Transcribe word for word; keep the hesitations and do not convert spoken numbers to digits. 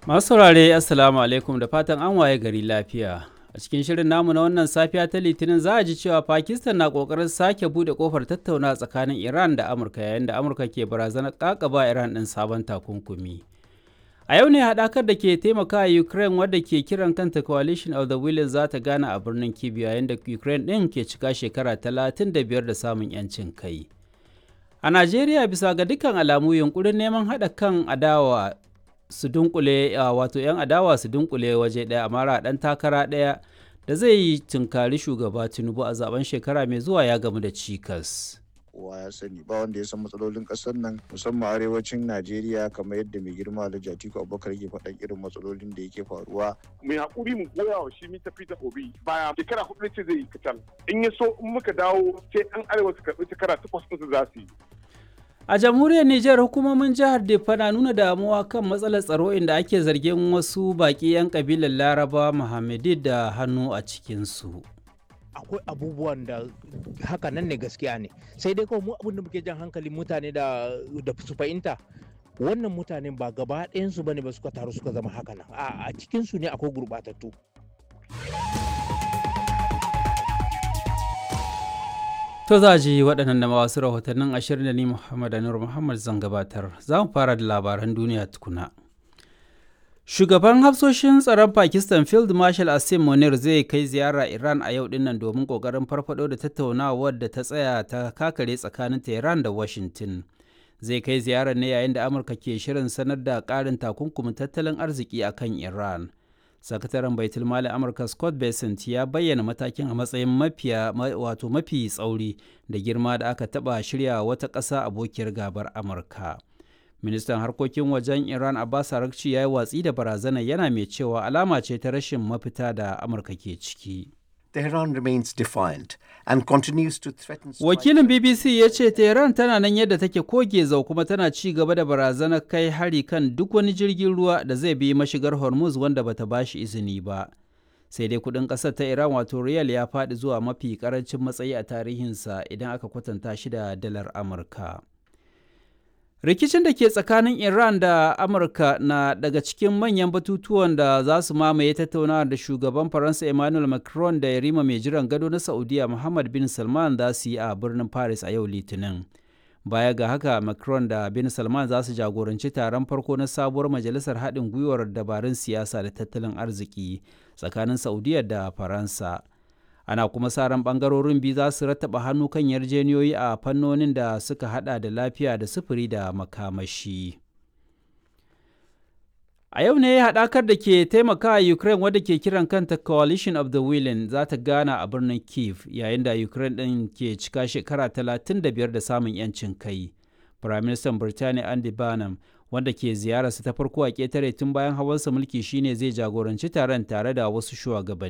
Masu saurare, Assalamu alaikum, da fatan an waye gari lafiya. A cikin shirin namu na wannan safiya ta Litinin za a ji cewa Pakistan na kokarin sake bude kofar tattauna tsakanin Iran da Amurka yayin da Amurka ke barazanar kakaba Iran ɗin sabon takunkumi. A yau ne haɗakar da ke taimakawa Ukraine wadda ke kiran kanta Coalition of the Willing za ta gana a birnin Kyiv yayin da Ukraine ɗin ke cika shekara talatin da biyar da samun 'yancin kai. A Najeriya, bisa ga dukkan alamu, yunkurin neman haɗa kan adawa su dunkule, wato 'yan adawa su dunkule waje ɗaya a mara ɗan takara ɗaya da zai yi tunkari shugaba Tinubu a zaben shekara mai zuwa ya gamu da cikas. Kowa ya sani ba wanda ya san matsalolin kasar nan, musamman arewacin Najeriya, kamar yadda mai girma Alhaji Atiku Abubakar yake faɗan irin matsalolin da yake faruwa. Mai hakuri mu goya wa shi mita Peter Obi baya, shekara hudu ce zai yi kacal. In ya so in muka dawo sai an arewa su karɓi shekara takwas ɗin su za su yi. A jamhuriyar Nijar, hukumomin jihar Diffa na nuna damuwa kan matsalar tsaro inda ake zargin wasu baƙi 'yan kabilar Laraba Muhammadi da hannu a cikinsu. Akwai abubuwan da haka nan ne, gaskiya ne, sai dai kawai mu abin da muke jan hankalin mutane da da su fahimta, wannan mutanen ba gaba ɗayansu bane ba suka taru suka zama haka nan. A cikin su ne akwai gurɓatattu. To za ji waɗannan da wasu rahotannin ashirin da ni Muhammad Anur Muhammad zan gabatar. Za mu fara da labaran duniya tukuna. Shugaban hafsoshin tsaron Pakistan Field Marshal Asim Munir zai kai ziyara Iran a yau dinnan domin kokarin farfado da tattaunawar da ta tsaya ta kakare tsakanin Tehran da Washington. Zai kai ziyarar ne yayin da Amurka ke shirin sanar da ƙarin takunkumin tattalin arziki a kan Iran. Sakataren Baitul Mali Amurka Scott Bessent ya bayyana matakin a matsayin mafiya wato mafi tsauri da girma da aka taɓa shirya wata ƙasa abokiyar gabar Amurka. Ministan harkokin wajen Iran Abbas Araghchi ya yi watsi da barazanar, yana mai cewa alama ce ta rashin mafita da Amurka ke ciki. Tehran remains defiant and continues to threaten. Wakilin B B C ya ce Tehran tana nan yadda take koge zau kuma tana ci gaba da barazanar kai hari kan duk wani jirgin ruwa da zai bi mashigar Hormuz wanda bata bashi izini ba. Sai dai kudin kasar ta Iran wato riyal ya faɗi zuwa mafi karancin matsayi a tarihinsa idan aka kwatanta shi da dalar Amurka. Rikicin da ke tsakanin Iran da Amurka na daga cikin manyan batutuwan da za su mamaye tattaunawa da shugaban Faransa Emmanuel Macron da yarima mai jiran gado na Saudiya Muhammad bin Salman za su yi a birnin Paris a yau Litinin. Baya ga haka, Macron da bin Salman za su jagoranci taron farko na sabuwar majalisar haɗin gwiwar dabarun siyasa da tattalin arziki tsakanin Saudiya da Faransa. Ana kuma sa ran bangarorin biyu za su rattaba hannu kan yarjeniyoyi a fannonin da suka hada da lafiya da sufuri da makamashi. A yau ne haɗakar da ke taimaka Ukraine wadda ke kiran kanta Coalition of the Willing za ta gana a birnin Kiev yayin da Ukraine ɗin ke cika shekara talatin da biyar da samun 'yancin kai. Firaministan Birtaniya Andy Burnham, wanda ke ziyararsa ta farko a ƙetare tun bayan hawansa mulki, shine zai jagoranci taron tare da wasu shugabanni.